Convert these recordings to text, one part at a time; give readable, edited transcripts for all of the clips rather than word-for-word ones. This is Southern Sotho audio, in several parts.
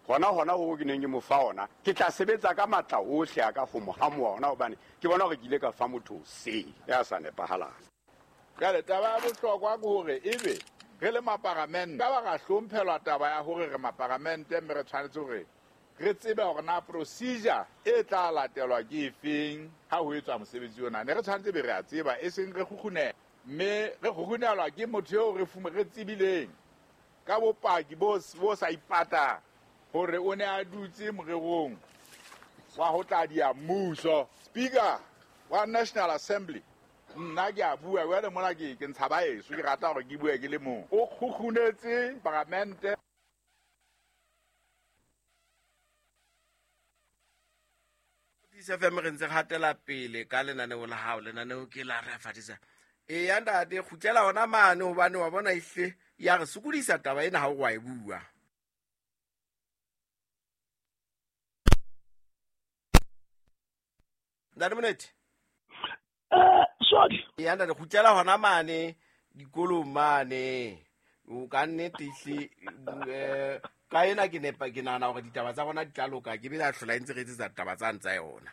Hona hoo ke neng ke mo fa ona, ke tla sebetsa ka matla ohle a ka ho mo hamoha ona, hobane ke bona hore ke ile ka fa motho se ya sa nepahalang. Jwale taba ya bohlokwa ke hore ebe re le maparamente ka ba ra hlomphelwa taba ya hore re maparamente, mme re tshwanetse hore re tsebe hore na procedure e tla latelwa ke efeng ha ho etswa mosebetsi ona. Ne re tshwanetse be re a tseba, e seng re kgukgunela, mme re kgukgunelwa ke motho eo re tsebileng ka bopaki bo sa ipatang hore o ne a dutse morerong wa ho tla dia mmuso. Speaker wa National Assembly, nna ke a bua jwale mona, ke ntsha baeso, ke rata hore ke bue ke le mong. O kgukgunetse paramente. FM re ntse re hatela pele ka lenaneo la hao, lenaneo ke la re fatisa. Eya ntate, kgutlela hona mane hobane wa bona ehle ya re sokodisa taba ena ha o wa e bua. Ntate Monete. Sorry. Eya ntate, kgutlela hona mane dikolong mane. O ka nnete ehle, ka ena ke nepa, ke nahana hore ditaba tsa rona di tla loka, ke be la hlola e ntse re etsetsa ditaba tsane tsa yona.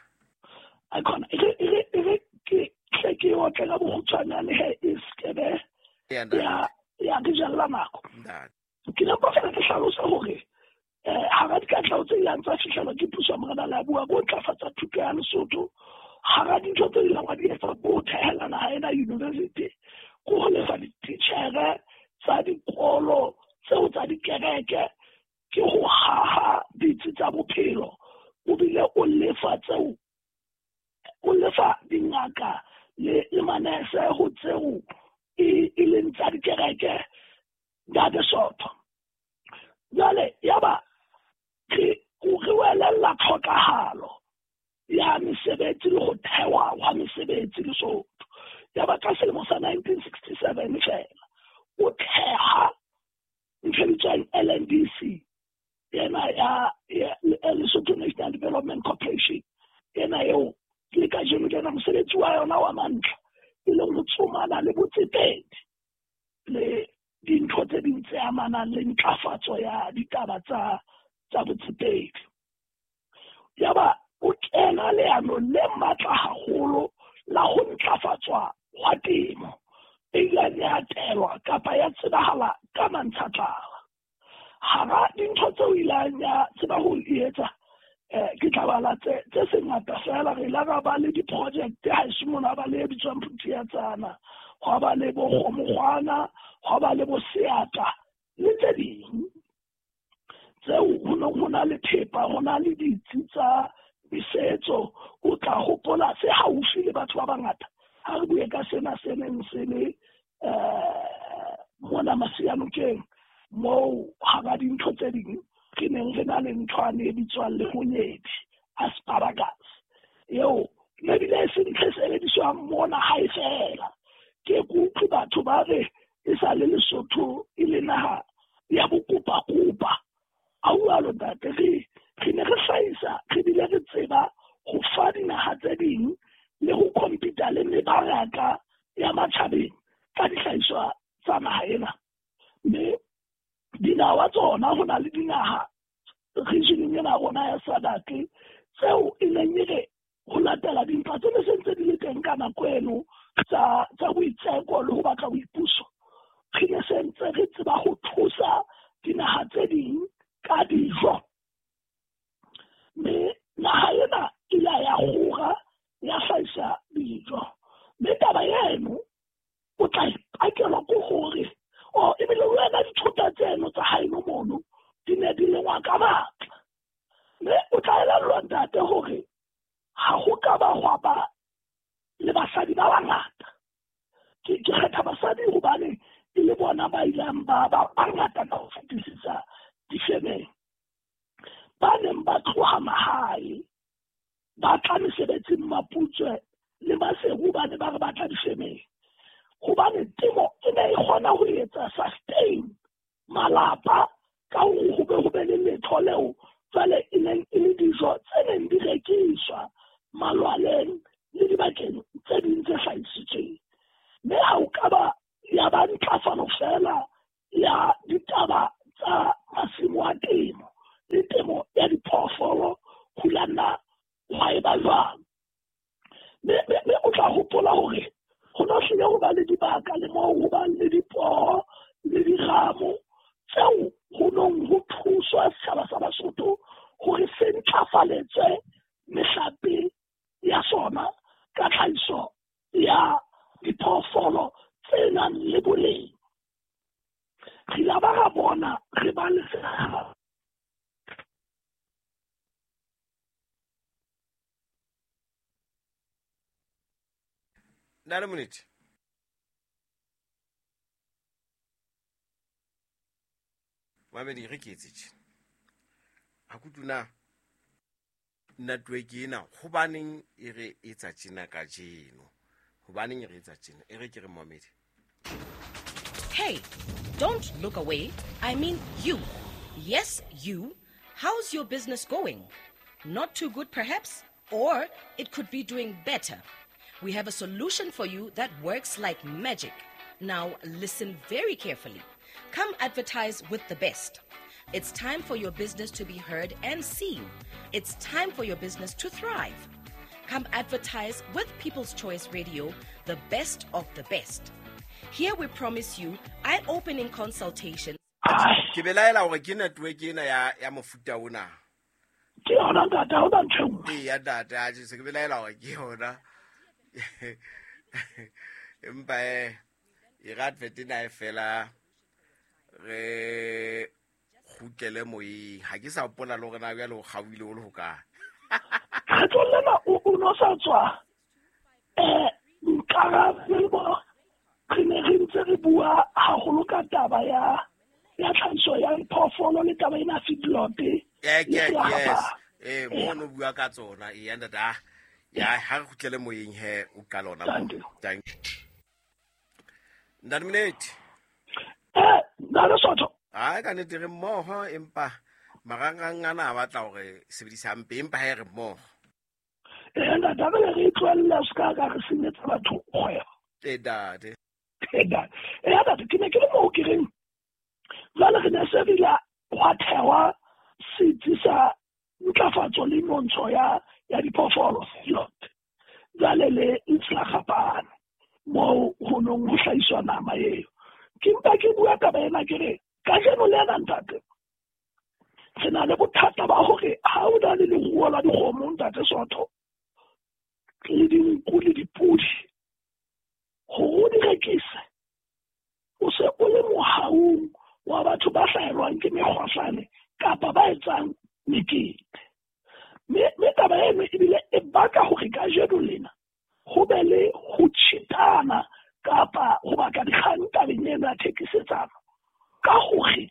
A khona, e re ke tle ke otle ka bokgutshwanyane he e skebe ya re jella nako. Ke ne mpa fela ke hlalosa hore hara dikatleho tse ileng tsa fihlelwa ke puso ya Morena Leabua ko ntlafatsa thuto ya Lesotho, hara dintho tse ileng wa di etsa ko thehela naha ena university, ko ho lefa dititjhere tsa dikolo tseo tsa dikereke, ke ho haha ditsi tsa bophelo, o bile o lefa tseo, o lefa dingaka le manese ho tseo e leng tsa dikereke Ntate Sotho. Jwale yaba re welella tlhokahalo ya mesebetsi le ho thewa hwa mesebetsi Lesotho. Yaba ka selemo sa 1967 fela o theha ntho e bitswang LNDC, ena ya Lesotho National Development Corporation, ena eo le kajeno lena mosebetsi wa yona wa mantlha e leng ho tsomana le botsetedi le dintho tse ding tse amanang le ntlafatso ya ditaba tsa botsetedi. Yaba o kena leano le matla haholo la ho ntlafatswa hwa temo e ileng ya telwa kapa ya tsebahala ka mantshatlala. Hara dintho tseo ileng ya tseba ho etsa, ke tla bala tse sengata fela. Re ile ra ba le di-project haeso mona, ba le e bitswang Phuthiatsana, hwa ba le bo Kgomokgwana, hwa ba le bo Seata le tse ding tseo ho neng ho na le thepa, ho na le ditsi tsa mesetso. O tla hopola se haufi le batho ba bangata ha re bue ka sena se neng se le mona Masianokeng, moo hara dintho tse ding re neng re na le nthwane e bitswang lehonyedi, asparagus, eo ebile e se ntho e sebediswang mona hae fela. Ke kutlwe batho ba re e sa le Lesotho e le naha ya bokopakopa. A ualo ntate, re ne re hlahisa, re bile re tseba ho fa dinaha tse ding le ho compete le mebaraka ya matjhabeng ka dihlahiswa tsa naha ena. Mme dinawa tsona, ho na le dinaha regioneng ena rona ya SADC tseo e neng e re ho latela dintwa tse ne se ntse di le teng ka nako eno tsa boitseko le ho batla boipuso, re ne se ntse re tseba ho thusa dinaha tse ding ka dijo. Mme naha ena e ile ya kgora ya hlahisa dijo. Mme taba eno o tla ipakelwa ke hore ebile wena dithota tseno tsa haeno mono di ne di lengwa ka matla. Mme o tla elellwa ntate hore ha ho ka ba hwa ba le basadi ba bangata. Ke kgetha basadi hobane e le bona ba ileng ba bangata ka ho fetisisa difemeng, ba neng ba tloha mahae ba tla mesebetsing Maputswe le Maseru, ba ne ba re batla difemeng hobane temo e ne e kgona ho etsa sustain malapa ka hore ho be le letho leo jwale e neng e le dijo tse neng di rekiswa malwaleng le dibakeng tse ding tse hlahisitsweng. Mme ha o ka ba ya ba ntlafalo fela ya ditaba tsa masimo a temo le temo Ntate Monete. Mamedi re ke etse tje. Ha kutuna network ena hobaneng e re etsa tjena kajeno. Hobaneng e re etsa tjena? E re ke re Mohamedi. Hey, don't look away. I mean you. Yes, you. How's your business going? Not too good, perhaps? Or it could be doing better. We have a solution for you that works like magic. Now, listen very carefully. Come advertise with the best. It's time for your business to be heard and seen. It's time for your business to thrive. Come advertise with People's Choice Radio, the best of the best. Here we promise you eye-opening consultation. Ke belaela hore ke network ena ya mofuta ona. Ke yona ntate, ha hona ntho e nngwe. Ee, ya ntate, a se ke belaela hore ke yona. Empa e re advert ena e fela re kgutlele moyeng. Ha ke sa hopola le hore na jwale o kgaohile o le hokae. Kgetlong lena o no sa tswa nkarabele bo re ne re ntse re bua haholo ka taba ya tlhahiso ya diphoofolo le taba ena feedlot. Yes. Mono bua ka tsona. Ee, ntate, ah. Ya, ha re kgutlele moyeng he o qala hona moo. Thank you. Ntate Monete. Ntate Sotho. Ai, ka nnete re mmoho, empa marangrang ana a batla hore sebedisa hampe, empa ha e re mmoho. Ntate, re re tlohelle se ka ka re senyetsa batho kgwebo. Ntate. Ntate, ke ne ke le moo ke reng jwale re ne se re ile hwa thehwa setsi sa ntlafatso le nontsho ya diphoofolo feedlot. Jwale le Ntlhagapane moo ho nong ho hlahiswa nama eo. Ke mpa ke bua taba ena ke re kajeno le ena ntate re na le bothata ba hore ha o na le leruo la dikgomo ntate Sotho le dinku le dipudi hore o di rekise o se o le mohaung wa batho ba hlahelwang ke mekgohlane kapa ba etsang mekete. Mme taba eno ebile e baka hore kajeno lena ho be le ho tjhitana kapa ho baka dikgang tabeng eno ya thekisetsano ka hore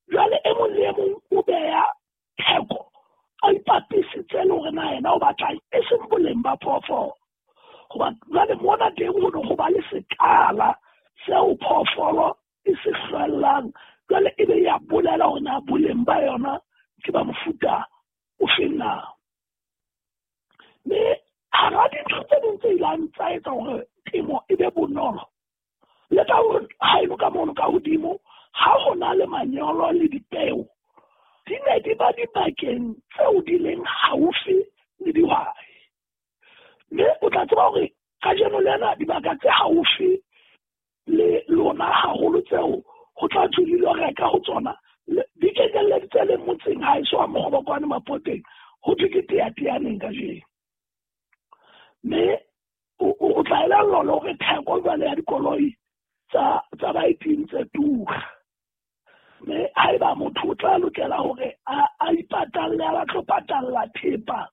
jwale e mong le e mong o beha theko a ipapisitse le hore na yena o batlang e seng boleng ba phoofolo. Hoba jwale mona teng ho ne ho ba le sekala seo phoofolo e se hlwellang, jwale e be ya bolela hore na boleng ba yona ke ba mofuta o feng na. Mme hara dintho tse ding tse ileng tsa etsa hore temo e be bonolo le ka hore haeno ka mono ka hodimo ha ho na le manyolo le dipeo di ne di ba dibakeng tseo di leng haufi le dihwai. Mme o tla tseba hore kajeno lena dibaka tse haufi le lona haholo tseo ho tla thwe di lo reka ho tsona di kekelleditse le motseng ha eso wa Mokgobokwane Mapoteng ho thwe ke teateaneng kajeno. Mme o tla elellwa le hore theko jwale ya dikoloi tsa baeting tse tura. Mme haeba motho o tla lokela hore a ipatalle, a batlo patalla thepa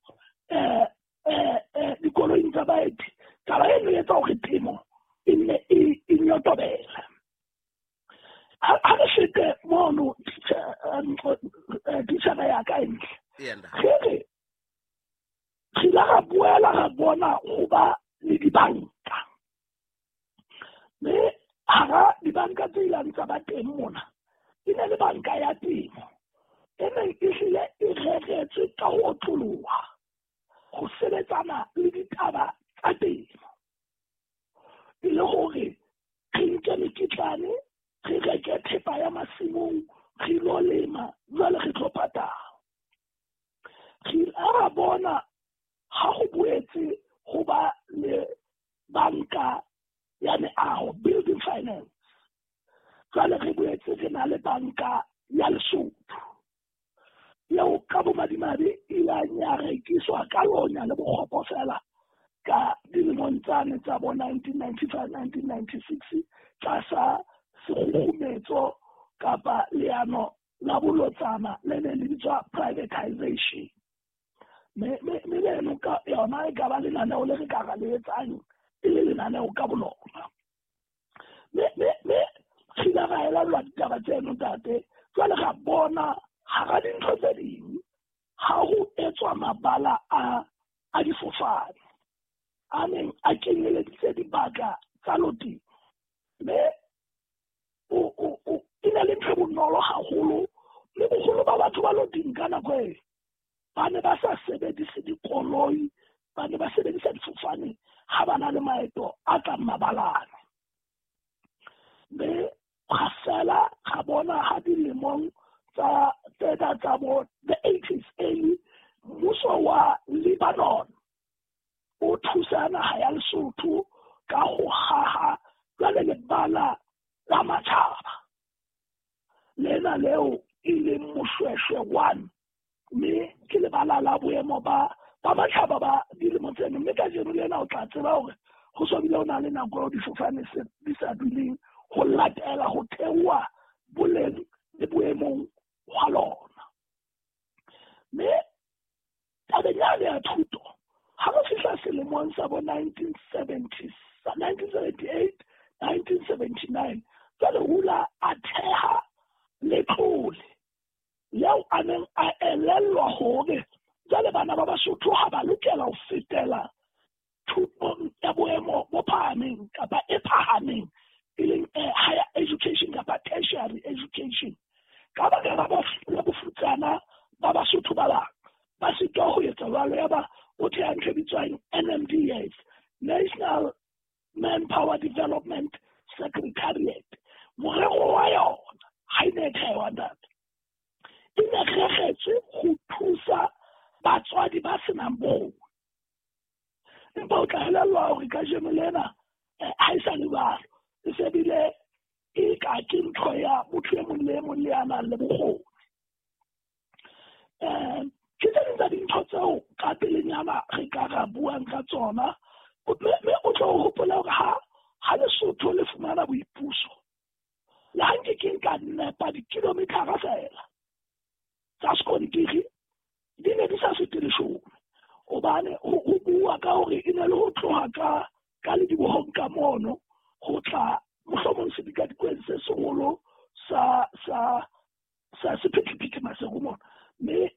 dikoloing tsa baeti, taba eno e etsa hore temo e nne e nyotobele. Ha re fete mono titjhere ya ka e ntle. Re re ile ra boela ra bona ho ba le dibanka. Mme hara dibanka tse ileng tsa ba teng mona e ne le banka ya temo e neng e hlile e reretswe ka ho otloloha ho sebetsana le ditaba tsa temo. E le hore re nke mekitlane, re reke thepa ya masimong, re lo lema, jwale re tlo patala. Re ile ra bona ha ho boetse ho ba le banka ya meaho, building finance. Jwale re boetse re na le banka ya Lesotho eo ka bomadimabe e ileng ya rekiswa ka lonya le bokgopo fela ka dilemong tsane tsa bo 1995 1996 tlasa sekgukgumetso kapa leano la bolotsana le ne le bitswa privatization. Mme leno ka yona e ka ba lenaneo le re ka ra le etsang e le lenaneo ka bolona. Mme re ile ra elellwa ditaba tseno ntate. Jwale ra bona hara dintho tse ding ha ho etswa mabala a difofane a neng a kenyeleditse dibaka tsa loteng. Mme e ne le ntho e bonolo haholo, mme boholo ba batho ba loteng ka nako e ba ne ba sa sebedise dikoloi, ba ne ba sebedisa difofane ha ba na le maeto a tlang mabalane. Mme ga fela ga bona ha dilemong tsa tsena tsa bo the 80s early, mmuso wa Lebanon o thusa naha ya Lesotho ka ho haha jwale lebala la matjhaba lena leo e leng Moshweshwe 1, mme ke lebala la boemo ba matjhaba ba dilemo tseno. Mme kajeno lena o tla tseba hore ho so bile ho na le nako eo difofane di sa duleng ho latela ho theoha boleng le boemong hwa lona. Mme tabeng yane ya thuto, ha re fihla selemong sa bo 1978, 1979, jwale hula a theha letlole leo a neng a elellwa hore jwale bana ba Basotho ha ba lokela ho fetela thutong ya boemo bo phahameng kapa e phahameng, e leng higher education kapa tertiary education. Ka baka la bofutsana ba Basotho ba bang ba sitwa ho etsa jwalo, ya ba o theha ntho e bitswang NMDS, National Manpower Development Secretariat. Morero wa yona ha e ne e thewa ntate, e ne reretswe ho thusa batswadi ba senang bokgoni. Empa o tla elellwa hore kajeno lena ha e sa le jwalo, e se bile e ka ke ntho ya motho e mong le e mong le ya nang le bokgoni. Ke tse ding tsa dintho tseo ka pelenyana re ka ra buang ka tsona. Mme o tlo hopola hore ha Lesotho le fumana boipuso, le ha nke ke nka nepa dikilomethara feela tsa sekontiri di ne di sa fete 10, hobane ho bua ka hore e ne le ho tloha ka ledibohong ka mono ho tla mohlomong sedikadikweng se seholo sa sephethephethe Maseru mona. Mme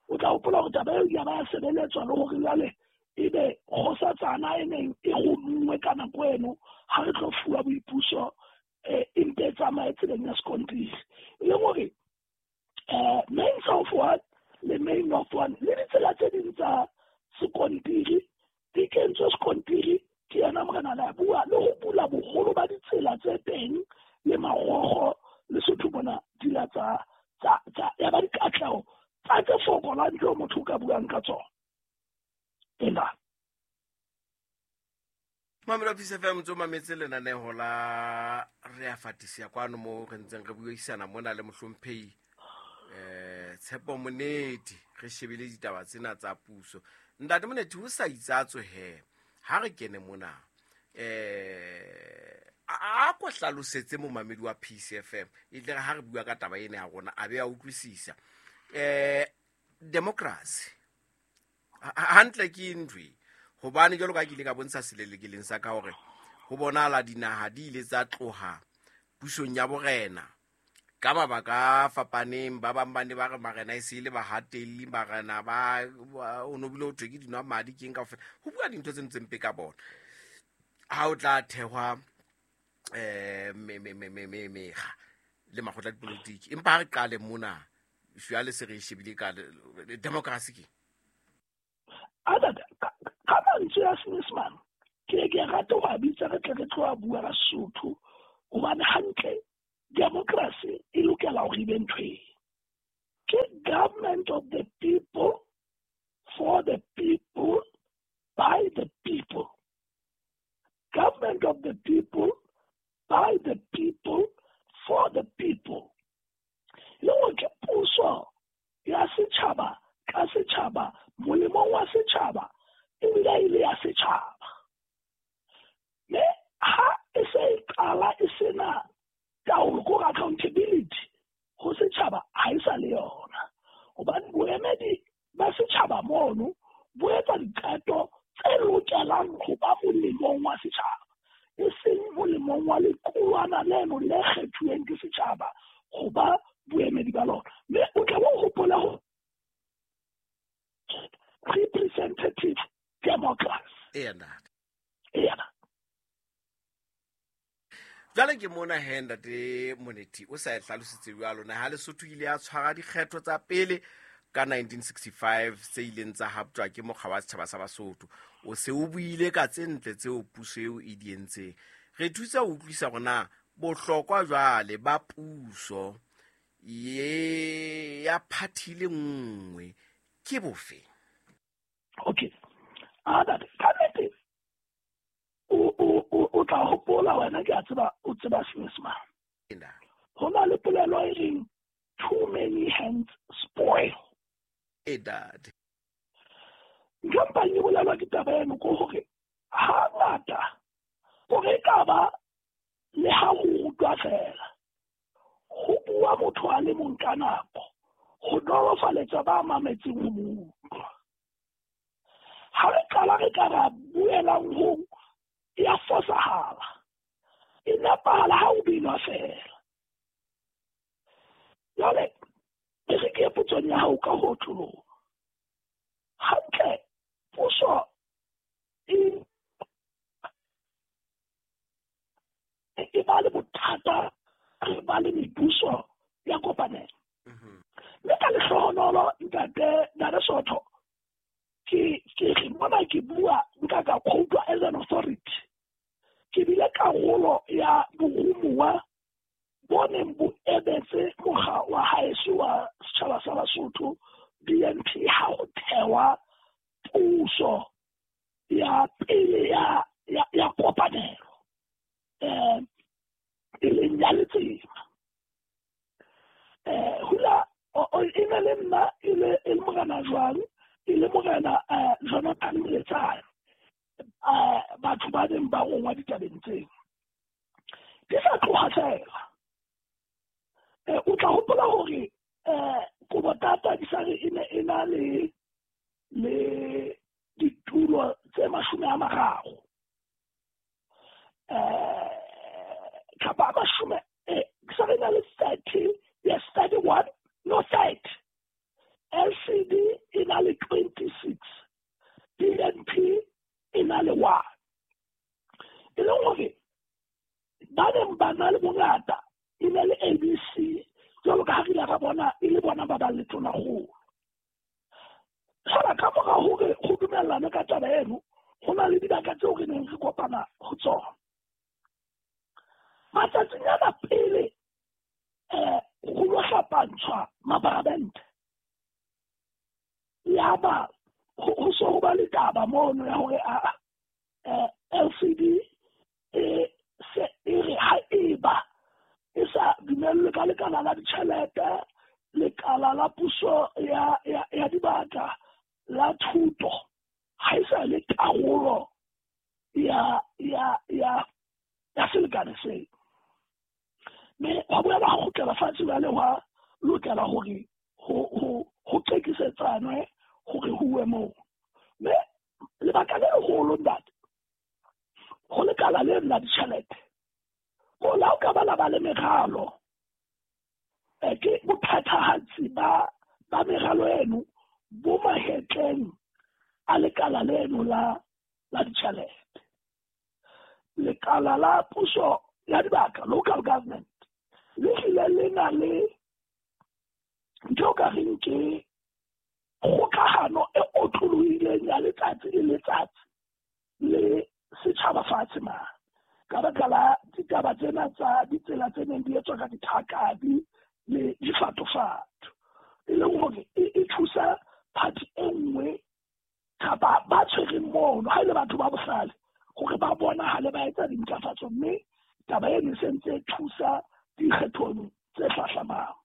o tla hopola hore taba eo ya ba sebeletswa le hore jwale ebe kgosatsana e neng e romuwe ka nako eno ha re tlo fuwa boipuso e mpe e tsamaye tseleng ya sekontiri. E leng hore main south one le main north one le ditsela tse ding tsa sekontiri di kentswe sekontiri ke yena morena la bua le ho bula boholo ba ditsela tse teng le marogo Lesotho mona di la tsa ya ba dikatleho tsa tse fokolang tseo motho o ka buang ka tsona. Ena Mamelo Peace FM ntse o mametse lenaneho la re a fatisia kwano mo re ntseng re buisana mona le mohlomphehi Tshepo Moneti, re shebile ditaba tsena tsa puso. Ntate Moneti, ho sa itsatswe he ha re kene mona a ko hlalosetse momamedi wa Peace FM e tle ha re bua ka taba ena ya rona a be a utlwisisa. Democracy hantle ke ntho e, hobane jwalo ka ke ile ka bontsha selelekeleng sa ka hore ho bonahala dinaha di ile tsa tloha pusong ya borena ka mabaka a fapaneng. Ba bang ba ne ba re marena e se le bahatelli, marena ba o no bile ho thwe ke dinwa madi ke eng kaofela, ho bua dintho tse ntseng mpe ka bona. Ha o tla thehwa mekga le makgotla a dipolotiki, empa ha re qale mona jwale se re e shebile ka democracy ke ka mantswe a Senyesemane ke ke rata ho a bitsa re tle re tlo bua ka Sesotho, hobane hantle democracy e lokela hore e be ntho e ke government of the people, for the people, by the people. Government of the people, by the people, for the people. Le hore ke puso ya setjhaba ka setjhaba, molemong wa setjhaba, ebile e le ya setjhaba. Mme ha e se e qala e sena taolo, ko accountability ho setjhaba ha e sa le yona, hobane boemedi ba setjhaba mono bo etsa diqeto tse lokelang ho ba molemong wa Eya ntate. Eya. Jwale ke mona he ntate Monethi o sa e hlalositse jwalo naha Lesotho ile ya tshwara dikgetho tsa pele ka 1965 tse ileng tsa haptjwa ke mokga wa setjhaba sa Basotho. O se o buile ka tse ntle tseo puso eo e di entseng. Re thusa ho utlwisa hore na bohlokwa jwale ba puso ye ya phathi le nngwe ke bofe? Okay. A ntate, ka nnete o tla hopola wena, ke a tseba o tseba Senyesemane. Ho na le polelo e reng too many hands spoil. E ntate. Ntho e mpang e bolelwa ke taba eno ke hore hangata hore e ka ba le ha ho rutwa fela, ho bua motho a le mong ka nako, ho nolofaletsa ba mametseng ho mo utlwa. Ha re qala re ka ra buelang ho ya fosahala, e nepahala ha o binwa fela. Jwale e re ke potsong ya hao ka ho otloloha. Hantle puso e ba le bothata, re ba le mebuso ya kopanelo. Mme ka lehlohonolo ntate Sotho, ke re mona ke bua nka ka quote as an authority. Ke bile karolo ya borumuwa bo neng bo emetse mokga wa haeso wa setjhaba sa Basotho BNP ha ho thewa puso ya pele ya kopanelo e leng ya Letsema. Hula e ne le nna e le morena jwang, e le morena Jonathan Moletsane, batho ba neng ba rongwa ditabeng tseo. Di sa tloha fela. O tla hopola hore Kobotata di sa re e ne e na le ditulo tse 30. Kapa mashome ke sa re na le 30, yes 31, no 30. LCD e na le 26, BNP e na le 1. E leng hore ba neng ba na le bongata e ne le ABC, jwalo ka ha re ile ra bona e le bona ba bang le tonakgolo. Fela ka mora hore ho dumellane ka taba eno, ho na le dibaka tseo re neng re kopana ho tsona. Matsatsing ana pele ho lo hlapantshwa maparamente, yaba ho so ho ba le taba mono ya hore LCD e se e re ha eba e sa dumellwe ka lekala la ditjhelete, lekala la puso ya dibaka, la thuto, ha e sa le karolo ya selekane seo. Mme hwa boela ha kgutlela fatshe jwale, hwa lokela hore ho qekisetsanwe hore ho uwe moo. Mme lebaka le leholo ntate, ho lekala leno la ditjhelete, ko la o ka ba la ba le meralo, ke bophethahatsi ba meralo eno bo mahetleng a lekala leno la ditjhelete. Lekala la puso ya dibaka, local government, le hlile le na le ntho o ka reng ke kgokahano e otlolohileng ya letsatsi le letsatsi le setjhaba fatshe mane, ka baka la ditaba tsena tsa ditsela tse neng di etswa ka dithakabi le difatofato, e leng hore e thusa party e nngwe kapa ba tshwereng mono, ha e le batho ba bohlale, hore ba bonahale ba etsa dintlafatso, mme taba eno e sentse e thusa dikgethong tse hlahlamang.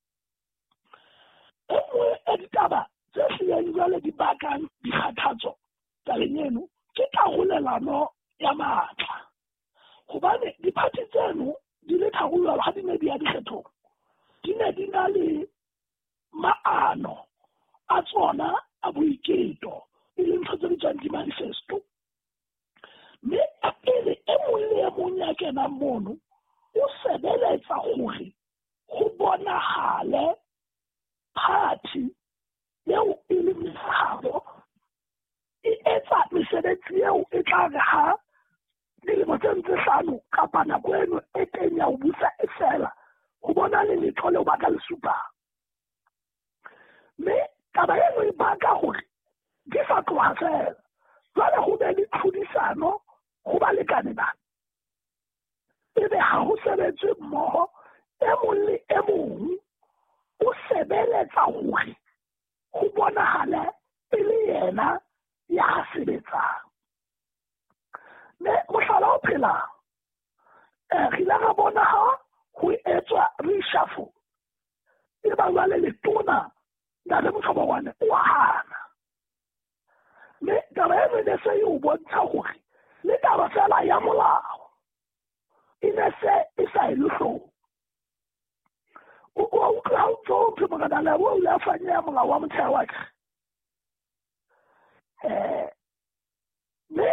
E nngwe ya ditaba tse hlileng jwale di bakang dikgathatso tabeng eno ke karolelano ya matla, hobane diphathi tseno di le tharo jwalo ha di ne di ya dikgethong, di ne di na le maano a tsona a boiketo, e leng ntho tse bitswang di-manifesto. Mme pele e mong le e mong ya kenang mono o sebeletsa hore ho bonahale party eo e leng habo e etsa mesebetsi mesebetsi eo e tla re ha dilemo tse ntse hlano kapa nako eno e teng ya ho busa e fela, ho bona le letho leo ba ka le supang. Mme taba eno e baka hore di sa tloha fela, jwale ho be le tlhodisano ho balekane bana. Ebe ha ho sebetswe mmoho, e mong le e mong o sebeletsa hore ho bonahale e le yena ya sebetsang. Mme mohlala o phelang, re ile ra bona ha ho etswa reshuffle, e ba jwale letona Ntate Motlhobogwane o a hana. Mme taba eno e ne se e o bontsha hore le taba fela ya molao e ne se e sa e le hloohong. O utlwa ha o ntso o thwe Morena Lebo o ile a fanyeha molao wa motheo wa ka. Mme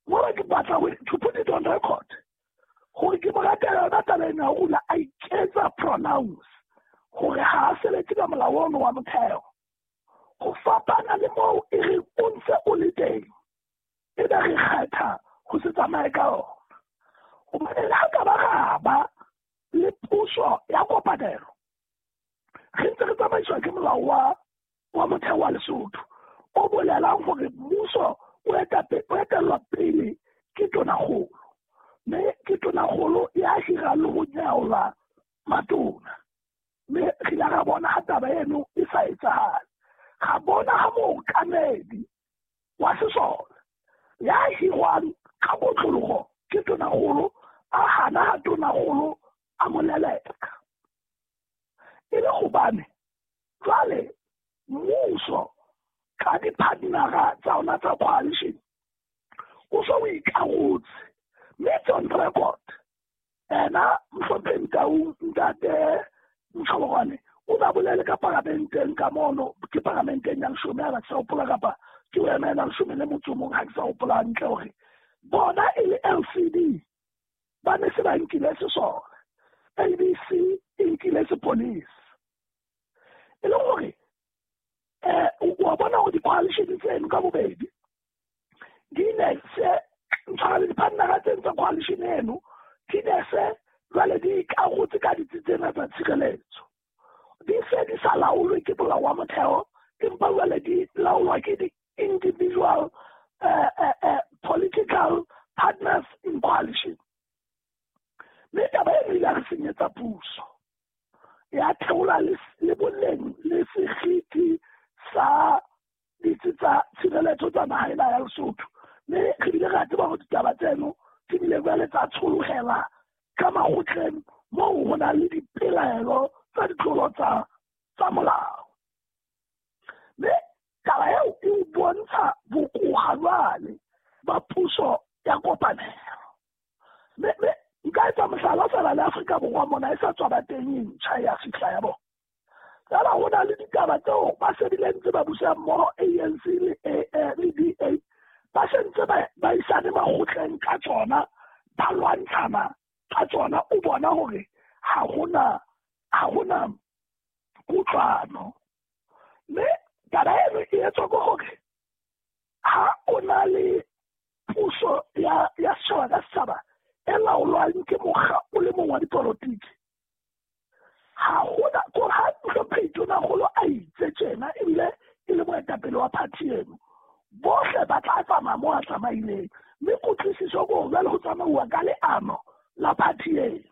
mona ke batla to put it on record gore ke mo ratela yona taba ena ya hore a iketsa pronounce gore ha a sebetse ka molao ono wa motheo. Go fapana le moo e reng o ntse o le teng, e be re kgetha go se tsamaye ka ona. Gobane le ha ka ba ra ba le puso ya kopanelo, re ntse re tsamaiswa ke molao wa motheo wa Lesotho o bolelang gore mmuso o etellwa pele ke tonakgolo, mme ke tonakgolo ya hirang le go nyaola matona. Mme re ile ra bona ha taba eno e sa etsahale. Ga bona ha mookamedi wa sesole ya hirwang ka kotlologo ke tonakgolo a hana ha tonakgolo a mo leleka. E le gobane jwale mmuso ka di-partnera tsa ona tsa coalition o so o ikarotse, mme it's on record. Ena Mohlomphehi Tau Ntate Motlhobogwane o ba bolele ka paramenteng ka mono, ke paramenteng ya leshome ha ke sa hopola, kapa ke o emela leshome le motso o mong ha ke sa hopola hantle, hore bona e le LCD ba ne se ba nkile sesole, ABC e nkile sepolisi. E le hore wa bona hore di-coalition tseno ka bobedi di ne se ntshwara le di-partnera tseno tsa coalition eno di ne se jwale di ikarotse ka ditsi tsena tsa tshireletso. Di se di sa laolwe ke molao wa motheo, empa jwale di laolwa ke di-individual political partners in coalition. Mme taba eno ile ya re senyetsa puso, ya theola le boleng le seriti sa ditsi tsa tshireletso tsa naha ena ya Lesotho. Mme re bile ra tseba hore ditaba tseno di bile jwale tsa tsholohela ka makgotleng moo ho nang le dipelaelo tsa ditlolo tsa molao. Mme taba eo e o bontsha bokoha jwale ba puso ya kopanelo. Mme nka etsa mohlala fela le Afrika Borwa mona e sa tswa ba teng e ntjha ya fihla ya bona. Fela ho na le ditaba tseo ba se bile ntse ba busa mmoho ANC le DA, ba se ntse ba isane makgotleng ka tsona, ba lwantshana ka tsona. O bona hore ha hona kutlwano. Mme taba eno e etswa ke hore ha o na le puso ya setjhaba ka setjhaba e laolwang ke mokga o le mong wa dipolotiki, ha hona kore ha Mohlomphehi Tonakgolo a itse tjena ebile e le moetapele wa party eno, bohle ba tla tsamaya moo a tsamaileng. Mme kutlwisiso ke hore jwale ho tsamauwa ka leano la party eno.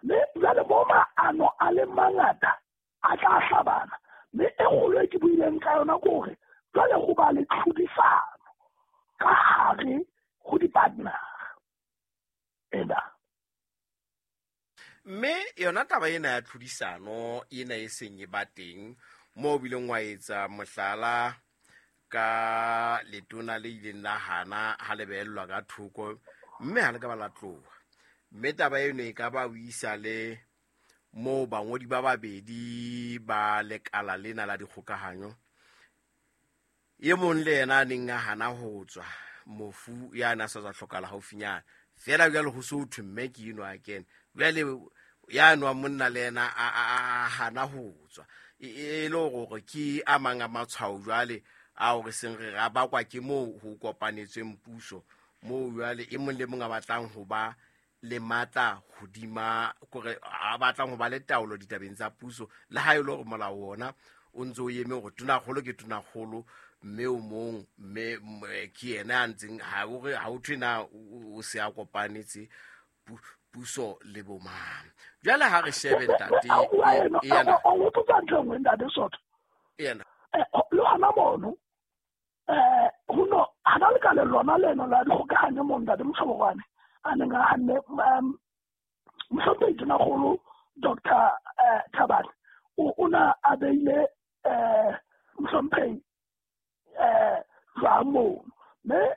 Mme jwale mo maano a le mangata a tla hlabana. Mme e kgolo e ke buileng ka yona ke hore jwale ho ba le tlhodisano ka hare ho di-partner ena. Mme yona taba ena ya tlhodisano ena e seng e ba teng moo o bileng wa etsa mohlala ka letona le ileng la hana ha le behellwa ka thoko, mme ha le ka ba la tloha. Mme taba eno e ka ba o isa le moo bangodi ba babedi ba lekala lena la dikgokahanyo, e mong le yena a neng a hana ho tswa, mofu ya na sa tswa hlokahala haufinyana. Feela jwale ho so thwe mme ke eno a kene. Jwale ya nwa monna le yena a hana ho tswa. E le hore ke a mang a matshwao jwale Ao re seng re ra bakwa ke moo ho kopanetsweng puso, moo jwale e mong le mong a batlang ho ba le matla hodima, kore a batlang ho ba le taolo ditabeng tsa puso, le ha e le hore molao ona o ntse o eme hore tonakgolo ke tonakgolo, mme o mong mme ke yena a ntseng ha o re ha o thwe na o se a kopanetse puso le bomang. Jwale ha re shebe ntate ena, o botsa ntho e nngwe ntate Sotho. Ena. Le hona mono ho no hana le ka le lona leno la dikgokahanyo mo ntate Moshobokwane a neng a hanne mohlomphehi tonakgolo Dr. Thabane o na a beile mohlomphehi jwang mono, mme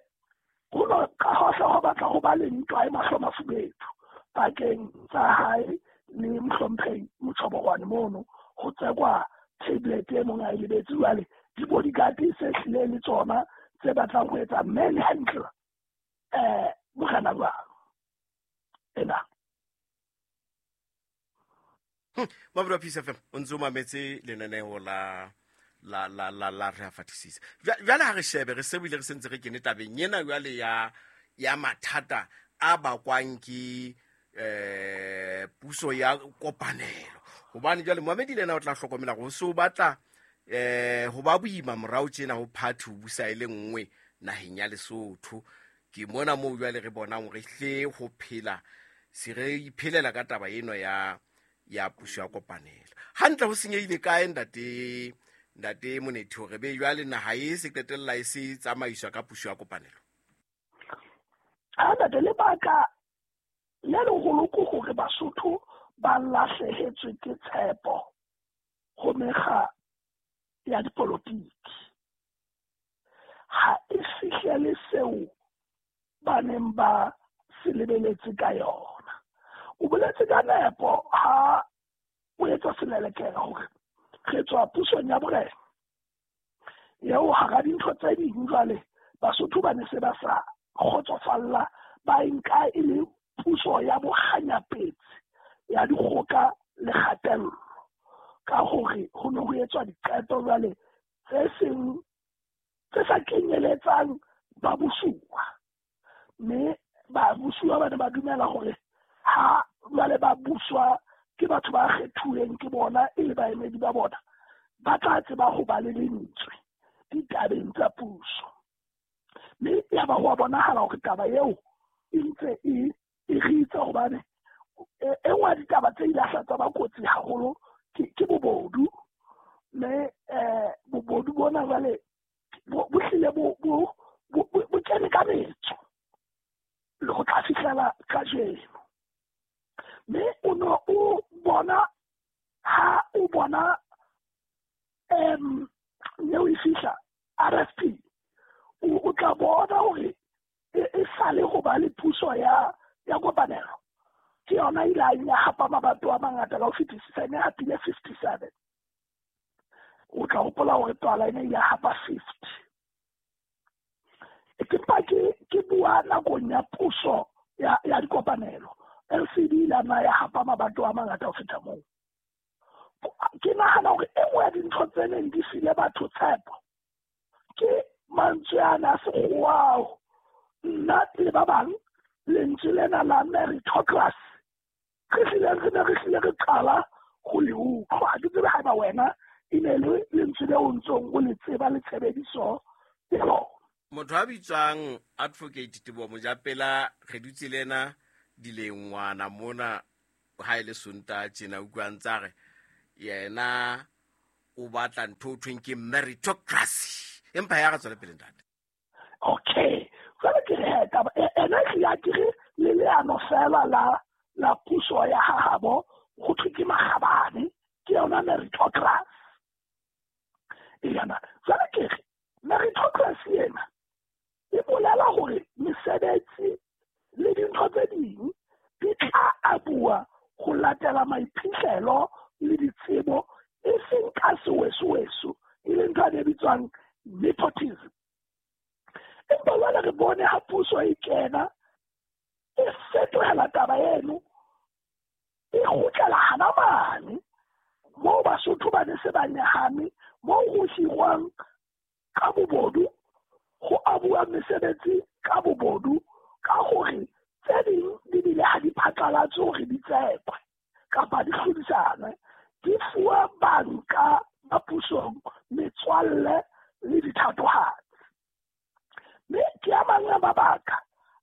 ho no ka hohle ho batla ho ba le ntwa e mahlo mafubedu pakeng tsa hae le mohlomphehi Moshobokwane mono, ho tsekwa tablet e mong a e lebetse. Jwale di-bodyguard se hlile le tsona tse batlang ho etsa manhandle morena jwalo ena. Mabura Peace FM o ntse o mametse lenaneo la la la la la re a fatisisa. Jwale ha re shebe re se bile re sentse re kene tabeng ena jwale ya mathata a bakwang ke puso ya kopanelo. Hobane jwale Mohamedi le yena o tla hlokomela hore o se o batla ho ba boima morao tjena ho party ho busa e le nngwe naheng ya Lesotho. Ke mona moo jwale re bonang hore hle ho phela se re iphelela ka taba eno ya puso ya kopanelo. Hantle ho senyehile kae ntate Monethi hore be jwale naha e se qetella e se tsamaiswa ka puso ya kopanelo? Ha ntate, lebaka le leholo ke hore Basotho ba lahlehetswe ke tshepo ho mekga ya dipolotiki. Ha e fihlele seo ba neng ba se lebeletse ka yona. O boletse ka nepo ha o etsa selelekela hore re tswa pusong ya borena eo hara dintho tse ding jwale Basotho ba ne se ba sa kgotsofalla, ba e nka e le puso ya bokganyapetsi ya dikgoka le kgatello, ka hore ho ne ho etswa diqeto jwale tse seng tse sa kenyeletsang babusuwa, mme babusuwa ba ne ba dumela hore ha jwale ba buswa ke batho ba kgethuweng ke bona e le baemedi ba bona, ba tla tseba ho ba le lentswe ditabeng tsa puso. Mme ya ba ho a bonahala hore taba eo e ntse e ritsa, hobane e nngwe ya ditaba tse ile tsa ba kotsi haholo ke bobodu, mme bobodu bona jwale bo hlile bo kene ka metso le ho tla fihlela kajeno. Mme o no o bona ha o bona neo e fihla RFP, o tla bona hore e sale ho ba le puso ya kopanelo. Ke yona ile ya hapa mabato a mangata ka ho fetisisa, e ne hapile 57. O tla hopola hore Twala e ne ile hapa 50. Ke mpa ke bua nakong ya puso ya dikopanelo. LCD ile na ya hapa mabato a mangata ho feta moo. Ke nahana hore e nngwe ya dintho tse neng di file batho tshepo ke mantswe ana a sekgowa ao nna le ba bang lentswe lena la meritocracy re hlile re qala ho le utlwa. Ha ke tsebe haeba wena e ne le lentswe leo o ntsong o le tseba le tshebediso ya lona. Motho a bitswang Advocate Teboho Mojapela re dutse le ena dilengwana mona ha e le Sontaha tjena, utlwa ntse re yena o batla ntho o thweng ke meritocracy. Empa ya re tswele pele ntate. Okay, jwale ke re taba ena e ya ke re le leano fela la puso ya hahabo ho thwe ke makgabane, ke yona meritocracy. Ena jwale ke re meritocracy ena e bolela hore mesebetsi le dintho tse ding di tla abuwa ho latela maiphihlelo le ditsebo, e seng ka sewesoweso, e leng ntho e bitswang nepotism. Empa jwale re bone ha puso e kena e fetohela taba eno, e kgutlela hana mane moo Basotho ba ne se ba nyahame, moo ho hirwang ka bobodu, ho abuwa mesebetsi ka bobodu, ka hore tse ding di bile ha di phatlalatswe hore di tsekwe kapa di hlodisanwe, di fuwa banka ba pusong, metswalle le dithatohatsi. Mme ke a mang a mabaka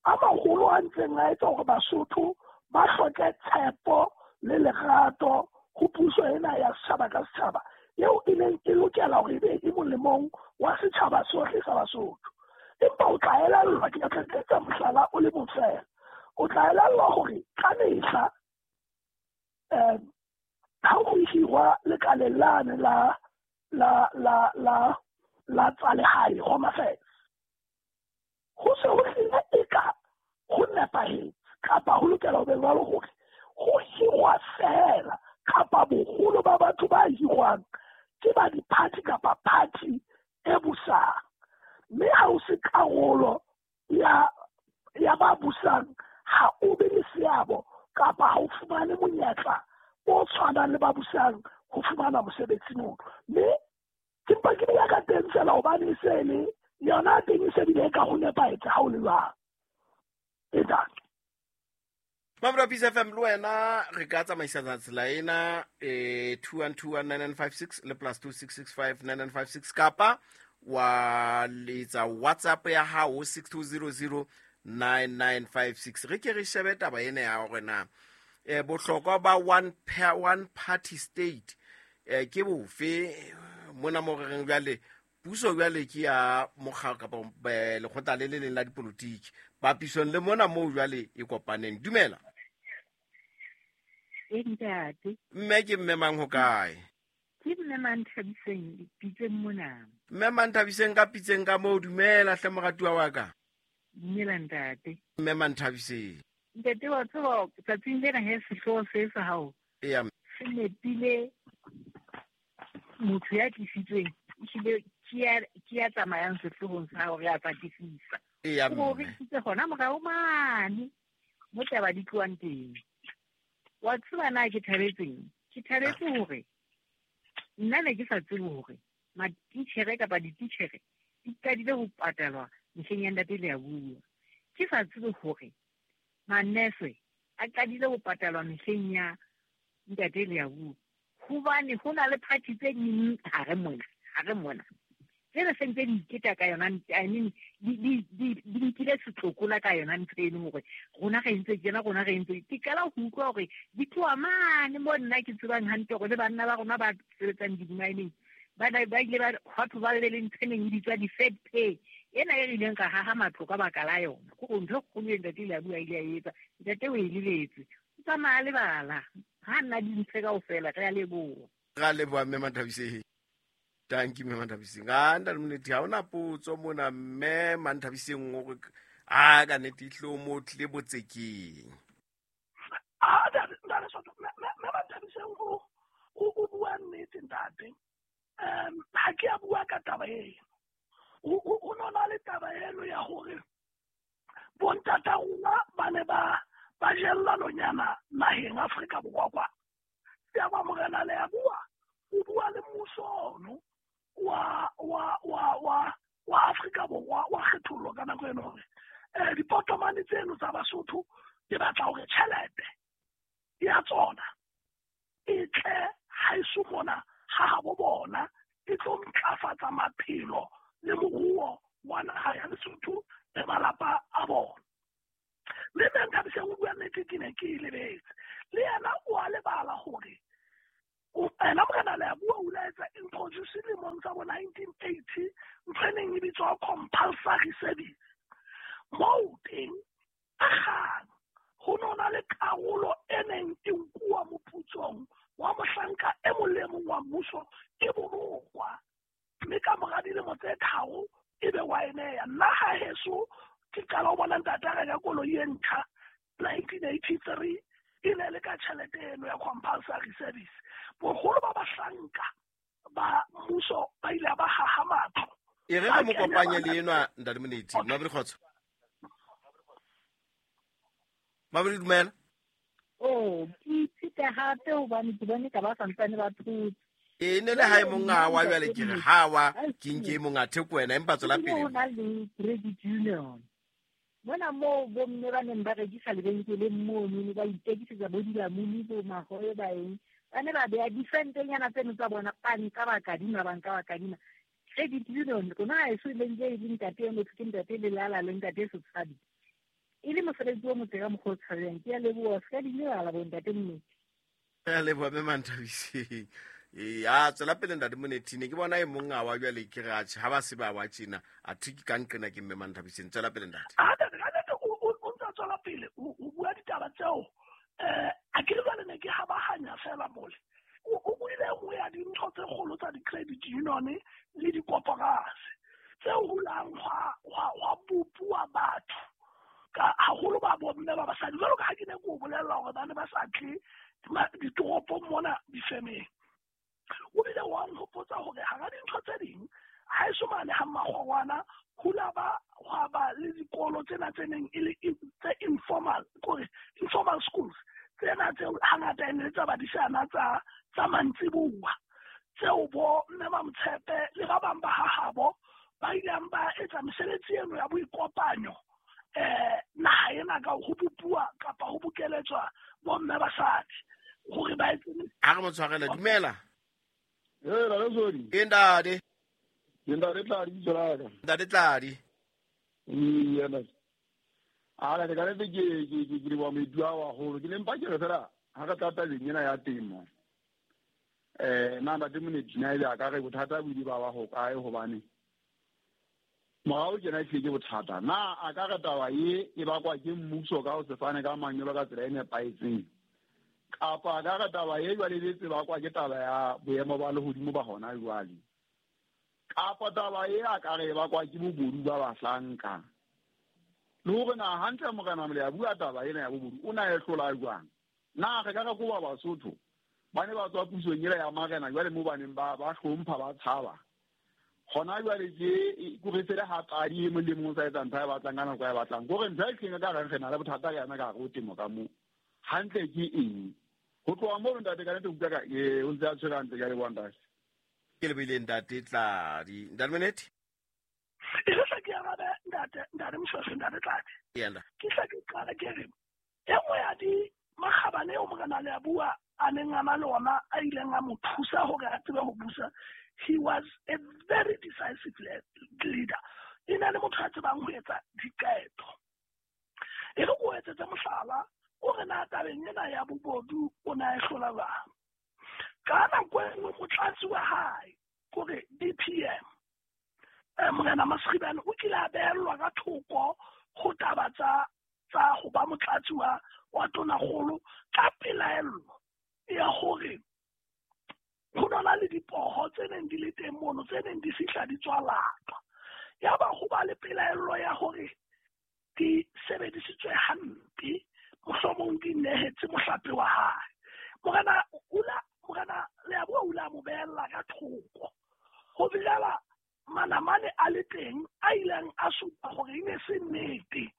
a maholo a ntseng a etsa hore Basotho ba hloke tshepo le lerato ho puso ena ya setjhaba ka setjhaba eo e neng e lokela hore ebe e molemong wa setjhaba sohle sa Basotho. Empa o tla elellwa, ke tla etsa mohlala o le mong feela, o tla elellwa hore ka mehla ha ho hirwa lekaleng lane la la la la la tsa lehae, Home Affairs, ho se ho hlile eka ho nepahetse kapa ho lokela ho be jwalo hore ho hirwa feela kapa boholo ba batho ba hirwang ke ba di-party kapa party e busang. Mme ha o se karolo ya ba busang, ha o be le seabo kapa ha o fumane monyetla o tshwanang le ba busang ho fumana mosebetsi mono. Mme ke mpa ke bua ka teng feela hobane e se le yona teng e se bile ka ho nepahetse ha o le jwang. E tang. Mamelodi Peace FM le wena re ka tsamaisana tsela ena 21219956 le plus 26659956 kapa wa letsa WhatsApp ya hao 62009956. Re ke re shebe taba ena ya hore na bohlokwa ba one party state ke bofe mona mo re reng jwale puso jwale ke ya mokga kapa lekgotla le le leng la dipolotiki papisong le mona moo jwale e kopaneng. Dumela. Ntate. Mme ke mme mang ho kae? Ke mme Manthabiseng Pitseng mona. Mme Manthabiseng ka Pitseng ka moo, dumela hle moratuwa wa ka. Dumela ntate. Mme Manthabiseng. Ntate wa tseba tsatsing lena he sehlooho se sa hao. Eya. Se nepile motho ya tlisitsweng ehlile ke ya tsamayang sehloohong sa hao re a fatisisa. Eya. O re isitse hona morao mane mo taba di tlohang teng. Wa tseba na ke thabetseng? Ke thabetse hore nna ne ke sa tsebe hore matitjhere kapa dititjhere di qadile ho patalwa mehleng ya ntate Leabua. Ke sa tsebe hore manese a qadile ho patalwa mehleng ya ntate Leabua. Hobane ho na le party tse ding hare mona. Tsena se ntse di iketa ka yona, I mean di nkile setlokola ka yona ntho eno hore rona re entse tjena, rona re entse. Ke qala ho utlwa hore di tloha mane mo nna ke tsebang hantle hore le banna ba rona ba sebetsang di-mining ba ile ba batho ba le ntho e neng e bitswa di-fed pay ena e re ileng ka haha matlo ka baka la yona. Ke hore ntho e kgolo e ntate Leabua a ile a etsa, ntate o e lebetse. O tsamaya lebala ha nna dintho kaofela. Re a leboha. Re a leboha mme Manthabiseng. Thank you mme Manthabiseng. A ntate Molethi ha ona potso mona mme Manthabiseng o re a ka nnete ihlo mo tlile botsekeng. A ntate mme Manthabiseng o bua nnete ntate. Ha ke a bua ka taba eno. O nona le taba eno ya hore bontata rona ba ne ba jella nonyana naheng Afrika Borwa kwa. Ya ba morena Leabua o bua le mmuso ono wa wa wa wa wa Afrika Borwa wa kgethollo ka nako eno hore dipotomane tseno tsa Basotho di batla hore tjhelete ya tsona e tle haeso mona ha habo bona e tlo ntlafatsa maphelo le moruo wa naha ya Lesotho le malapa a bona. Le mme Nthabiseng o bua nnete, ke ne ke e lebetse. Le yena o a lebala hore ena morena Leabua o ile a etsa introduce lemong tsa bo 1980 ntho e neng e bitswa compulsory service. Moo teng a kgang ho nona le karolo e neng e nkuwa moputsong wa mohlanka e mong le mong wa mmuso e bolokwa. Mme ka mora dilemo tse 3 ebe wa e neya. Nna ha heso ke qala ho bona ntate a reka koloi e ntjha 1983 e ne le ka tjhelete eno ya compulsory service. Boholo ba bahlanka ba mmuso ba ile ba haha matlo. E re re mo kopanye le enwa ntate Molethi. Mabedi kgotso. Mabedi dumela. Oh, ke ithute hape hobane ke bone ka ba santsane ba thotse. E ne le ha e monga wa jwale ke re ha wa ke nke monga theko wena empa tswela pele. Ho na le credit union. Mona moo bomme ba neng ba rekisa lebenkeleng mono ba itekisetsa bo dilamuni bo mahobe ba eng. Ba ne ba beha disentenyana tseno tsa bona ba nka ba kadima ba nka ba kadima. Credit union rona ha eso le ntse e le ntate e motho ke ntate Lelala le ntate Setshabi. E le mosebetsi o motle ka mokgwa o tshabehang. Ke a leboha se ka di lebala bo ntate Moneti. Ke a leboha mme Manthabiseng. E a tswela pele ntate Moneti ne ke bona e mong a wa jwale ke re atjhe ha ba se ba wa tjena a thwe ke ka nqena ke mme Manthabiseng. Tswela pele ntate. A ntate ka nnete o ntse a tswela pele o bua ditaba tseo a ke re jwale ne ke habahanya fela mole. O buile e nngwe ya dintho tse kgolo tsa di-credit union le dikoporasi tse hulang hwa bopuwa batho ka haholo ba bomme ba basadi jwalo ka ha ke ne ke o bolella hore ba ne ba sa tle ditoropong mona difemeng. O bile wa nhopotsa hore hara dintho tse ding ha eso mane ha Mmakgorwana hula ba hwa ba le dikolo tsena tse neng e le tse informal kore informal schools tsena tseo hangata e ne le tsa badisana tsa mantsibuwa tseo bo mme Mamtshepe le ba bang ba hahabo ba ileng ba etsa mesebetsi eno ya boikopanyo naha ena ka ho bopuwa kapa ho bokeletswa bomme basadi hore ba etse. Ha re mo tshwarele dumela. Ee, Ralesodi. Ke ntate. Ke ntate Tladi bitso la ka. Ntate Tladi. Ee, ntate. A la ka nnete ke leboha moeti wa hao haholo. Ke ne mpa ke re fela ha re tla tabeng ena ya temo. Na ntate Moneti na ebe a ka re bothata bo ile ba ba ho kae hobane morao tjena ehlile ke bothata. Na a ka re taba ye e bakwa ke mmuso ka ho se fane ka manyolo ka tsela e nepahetseng? Kapa a ka re taba ye jwale e betse bakwa ke taba ya boemo ba lehodimo ba hona jwale? Kapa taba ye a ka re e bakwa ke bobodu ba bahlanka? Le hore na hantle Morena Molea bua taba ena ya bobodu o na e hlola jwang? Na re ka re koba Basotho ba ne ba tswa pusong ela ya marena jwale mo ba neng ba hlompha ba tshaba? Hona jwale ke ko re sele ha qadi e mong le mong o sa etsa ntho a e batlang ka nako a e batlang. Kore ntho e hlileng ka reng re na le bothata ka yona ka hare ho temo ka moo. Hantle ke eng? Ho tloha mono ntate ka nnete utlwa ka o ntse a tshwere hantle ke a leboha ntate. Ke lebohile ntate Tladi. Ntate Moneti? E re hle ke arabe ntate ntate Moshweshwe ntate Tladi. Yena. Ke hle ke qale ke re e nngwe ya di makgabane eo Morena Leabua a neng a na le ona a ileng a mo thusa hore a tsebe ho busa, he was a very decisive leader. E ne le motho a tsebang ho etsa diqeto. E re ko etsetse mohlala o re na tabeng ena ya bobodu o na e hlola jwang. Ka nako e nngwe motlatsi wa hae kore DPM Morena Masribane o kile a behellwa ka thoko ho taba tsa ho ba motlatsi wa tonakgolo ka pelaello ya hore ho nona le dipoho tse neng di le teng mono tse neng di fihla di tswa latwa. Yaba ho ba le pelaello ya hore di sebedisitswe hampe, mohlomong di nehetse mohlape wa hae. Morena Leabua o ile a mo behella ka thoko ho fihlela manamane a le teng a ileng a supa hore e ne se nnete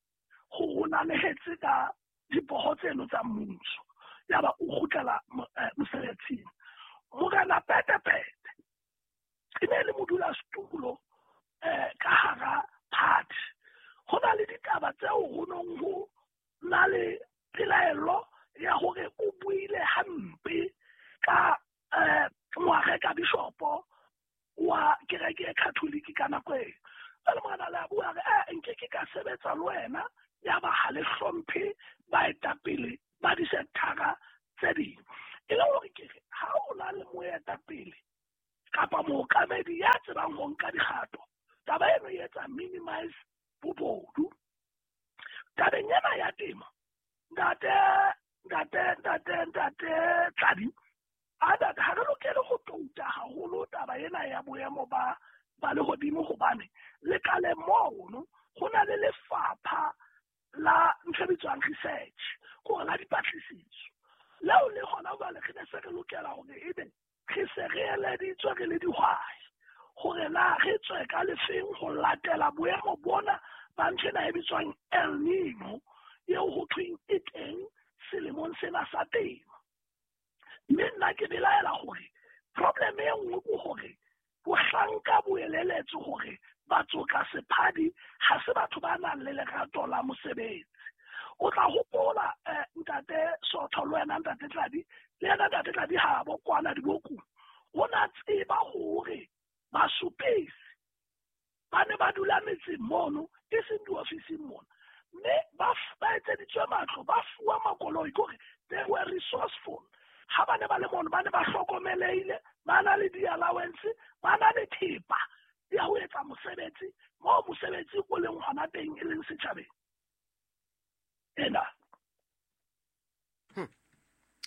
hore o nanehetse ka dipoho tseno tsa mmuso. Yaba o kgutlela mosebetsing. Morena Petepete e ne le modulasetulo ka hara party. Ho na le ditaba tseo ho nong ho na le pelaello ya hore o buile hampe ka ngware ka bishopo wa kereke e Catholic ka nako eo. Jwale Morena Leabua re nke ke ka sebetsa le wena ya ba ha le hlomphe baetapele ba disekthara tse ding. E le hore ke re ha o na le moetapele kapa mookamedi ya tsebang ho nka dikgato, taba eno e etsa minimize bobodu. Tabeng ena ya temo, ntate Tladi, a ha re lokele ho touta haholo taba ena ya boemo ba lehodimo hobane lekaleng mono ho na le lefapha la ntho e bitswang research, kore la dipatlisiso. Leo le hona jwale re ne se re lokela hore ebe re se re eleditswe re le dihwai hore na re tswe ka lefeng ho latela boemo bona ba ntho ena e bitswang El Nino eo ho thweng e teng selemong sena sa temo. Mme nna ke belaela hore Problem e nngwe ke hore bohlanka bo eleletswe hore batsoka sephadi ha se batho ba nang le lerato la mosebetsi. O tla hopola ntate Sotho le wena ntate Tladi, le yena ntate Tladi ha bo kwana dibokung, o na tseba hore basupesi ba ne ba dula metseng mono e seng diofising mona, mme ba etseditswe matlo, ba fuwa makoloi, ke hore they were resourceful. Ha ba ne ba le mono ba ne ba hlokomelehile, ba na le di-allowance, ba na le thepa ya ho etsa mosebetsi moo mosebetsi o leng hona teng e leng setjhabeng. Ena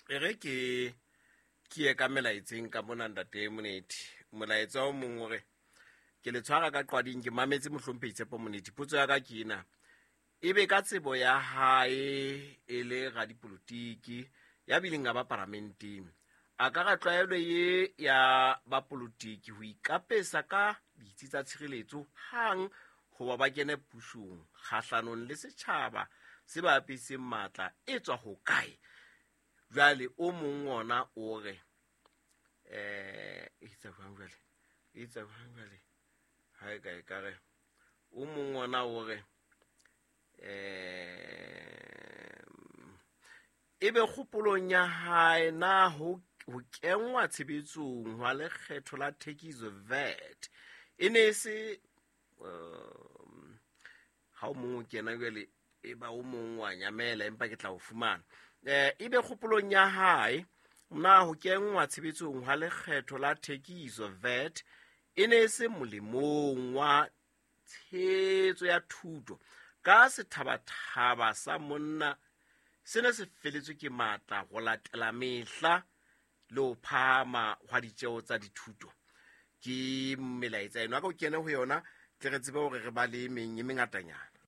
E re ke ye ka melaetseng ka mona ntate Monethi. Molaetsa o mong o re ke le tshwara ka qwading, ke mametse mohlomphehi Tshepo Monethi. Potso ya ka ke ena, ebe ka tsebo ya hae e le radipolotiki ya bileng a ba paramenteng, a ka ra tlwaelo ye ya bapolotiki ho ikapesa ka ditsi tsa tshireletso hang hoba ba kene pusong kgahlanong le setjhaba se ba apeseng matla e tswa ho kae? Jwale o mong ona o re e tsa jwang jwale, e tsa jwang jwale, ha e ka e ka re o mong ona o re ebe kgopolong ya hae na ho kenngwa tshebetsong hwa lekgetho la thekiso VAT e ne e se ha o mong o kena jwale e ba o mong wa nyamela, empa ke tla o fumana. Ebe kgopolong ya hae na ho kenngwa tshebetsong hwa lekgetho la thekiso VAT e ne e se molemong wa tshehetso ya thuto ka sethabathaba sa monna se ne se feletswe ke matla go latela mehla le ho phahama hwa ditjeo tsa dithuto. Ke melaetsa eno, a ka o kene ho yona tle re tsebe hore re ba le meng e mengatanyana.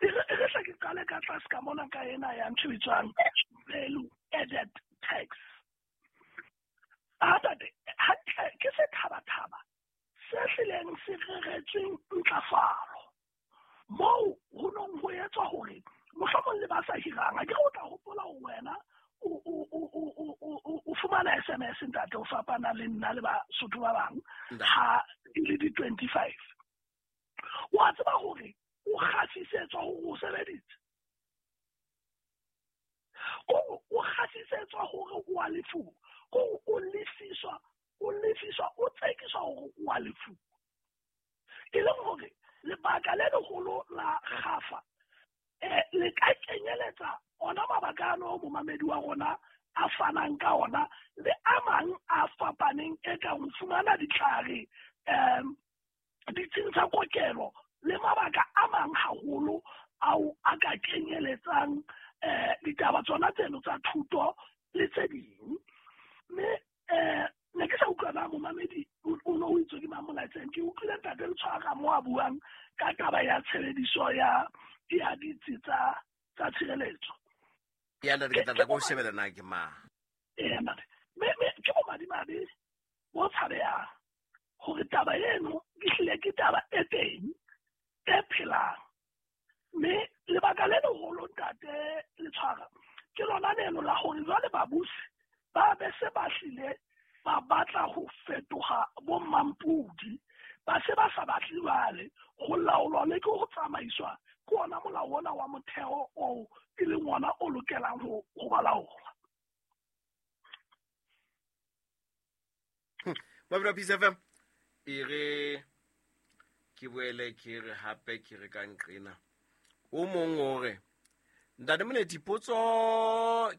E re hle ke qale ka tlase ka mona ka ena ya ntho e bitswang value added tax. A tate, hantle ke sethabathaba se hlileng se reretsweng ntlafalo moo ho nong ho etswa hore mohlomong le ba sa hirang, a ke re o tla hopola hore wena o fumana SMS ntate, o fapana le nna le Basotho ba bang ha e le di-25. Wa tseba hore o kgasisetswa hore o sebeditse, o kgasisetswa hore o a lefuwa, o lefiswa, o tsekiswa hore o a lefuwa. E leng hore lebaka le leholo la kgafa le ka kenyeletsa ona mabaka ano momamedi wa rona a fanang ka ona le a mang a fapaneng e kang ho fumana ditlhare, ditsing tsa kokelo le mabaka a mang haholo ao a ka kenyeletsang ditaba tsona tseno tsa thuto le tse ding. Mme ne ke sa utlwa na momamedi o no o itswe ke mang molaetseng, ke utlwile ntate Letshwara mo a buang ka taba ya tshebediso ya ditsi tsa tshireletso. Ya ntate, ke tla go shebela na ke mang. Ee ntate, mme ke bomadimabe bo tshabehang hore taba eno ehlile ke taba e teng e phelang. Mme lebaka le leholo ntate Letshwara ke lona leno la hore jwale babusi ba be se ba hlile ba batla ho fetoha bo mampudi, ba se ba sa batle jwale ho laolwa le ke ho tsamaiswa ke ona molao ona wa motheo oo e leng ona o lokelang ho ba laola. Mabelo Peace FM e re ke boele ke re hape ke re ka nqena. O mong o re ntate Monethi, potso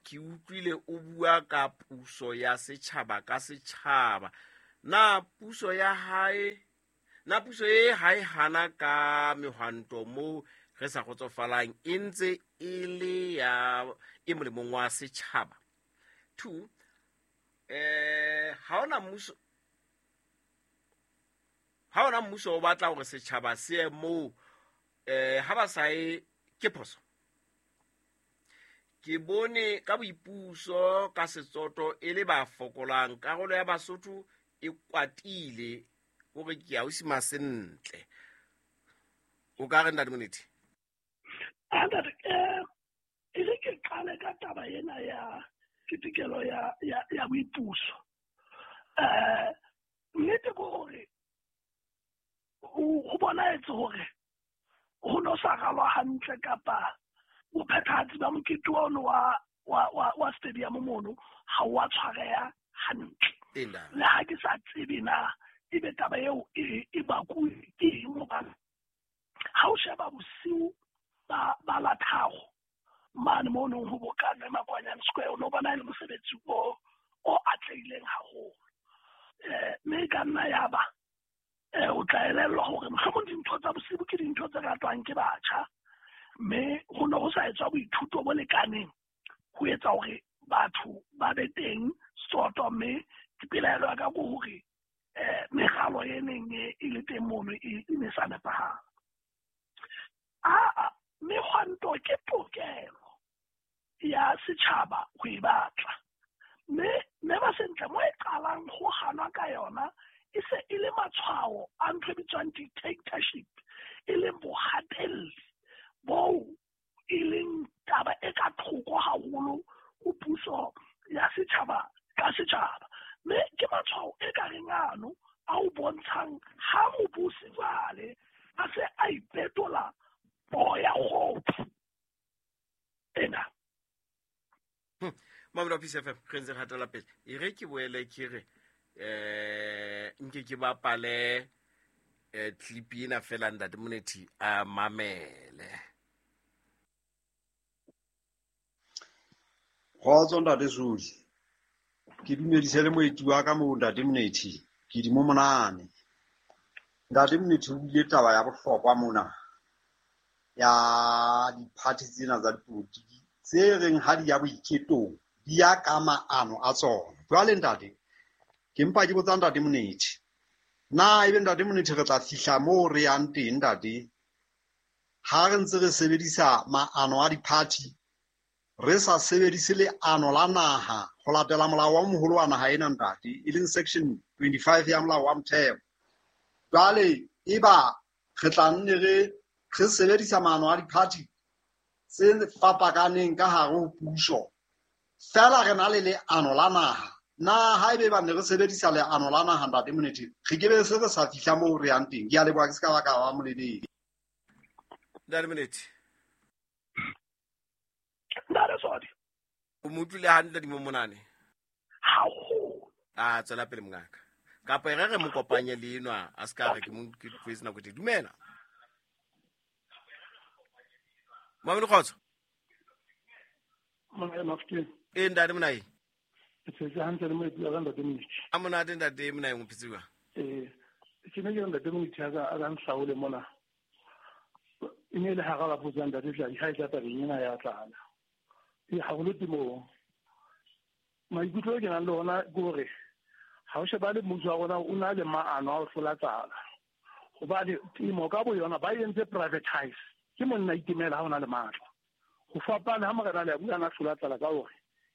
ke utlwile o bua ka puso ya setjhaba ka setjhaba. Na puso ya hae, na puso e hae hana ka mehwanto moo re sa kgotsofalang e ntse e le ya e molemong wa setjhaba? 2 ha ona mmuso o batla hore setjhaba se ye moo, ha ba sa ye ke phoso. Ke bone ka boipuso ka Setsotho e le ba fokolang, karolo ya Basotho e kwatile hore ke a o sima sentle. O ka re ntate Monethi? Ntate, e re ke qale ka taba ena ya ketekelo ya boipuso. Nnete ke hore ho bonahetse hore ho no sa ralwa hantle kapa bophethahatsi ba mokete ono wa stadium mono ha wa tshwareha hantle. Le ha ke sa tsebe na ebe taba eo e bakuwe ke eng, hobane ha o sheba bosiu ba la tharo mane mo nong ho bokane Makwanyane Square, o no bona e le mosebetsi o atlehileng haholo. Mme e ka nna ya ba o tla elellwa hore mohlomong dintho tsa bosibu ke dintho tse ratwang ke batjha, mme ho ne ho sa etswa boithuto bo lekaneng ho etsa hore batho ba be teng soto. Mme pelaelo ya ka ke hore meralo e neng e le teng mono e ne sa nepahala. Mehwanto ke tokelo ya setjhaba ho e batla, mme ba sentle mo e qalang ho hanwa ka yona e se e le matshwao a ntho e bitswang dictatorship, e leng bohatelli boo e leng taba e ka thoko haholo ho puso ya setjhaba ka setjhaba. Mme ke matshwao e ka reng ano a o bontshang ha mobusi jwale a se a ipetola poo ya kgopo ena. Mamelo Peace FM, re ntse re hatela pele. E re ke boele ke re nke ke bapale clip ena fela ntate Monethi a mamele. Kgotso ntate Zuli, ke dumedise le moeti wa ka moo ntate Monethi, ke di mo monane. Ntate Monethi o buile taba ya bohlokwa mona ya diphathi tsena tsa dipolotiki tse reng ha di ya boiketong di ya ka maano a tsona. Jwale ntate, ke mpa ke botsa ntate Monethi, na ebe ntate Monethi re tla fihla moo re yang teng ntate ha re ntse re sebedisa maano a diphathi, re sa sebedise leano la naha ho latela molao wa moholo wa naha ena ntate, e leng section 25 ya molao wa motheo. Jwale eba re tla nne re sebedisa maano a diphathi tse fapakaneng ka hare ho puso, fela re na le leano la naha. Na haebe ba ne re sebedisa leano la naha ntate Monethi, re ke be se re sa fihla moo re yang teng. Ke a leboha, ke se ka ba ka ba molebedi. Ntate Monethi. Ntate Sodi. O mo utlwile hantle di mo monane? Haholo. A tswela pele mongaka. Kapa e re mo kopanye le enwa, a se ka re ke mo ke tloetse nako e. Dumela. Mamelo kgotso. Mona Mafkeng. E ntate Monae. Ke tsetse hantle le moeti wa ka ntate Monethi. A monate ntate Monae o phetse jwang? Ke ne ke ntate Monethi a ka nhlaole mona. E ne le hara ba botsa ntate Tladi ha e tla tabeng ena ya tlala. E haholo temong. Maikutlo ke nang le ona ke hore ha o sheba le mmuso wa rona o na le maano a ho hlola tlala. Hobane temo ka boyona ba entse privatize. Ke monna itemela ha o na le matla. Ho fapana ha morena le a bua na hlola tlala ka hore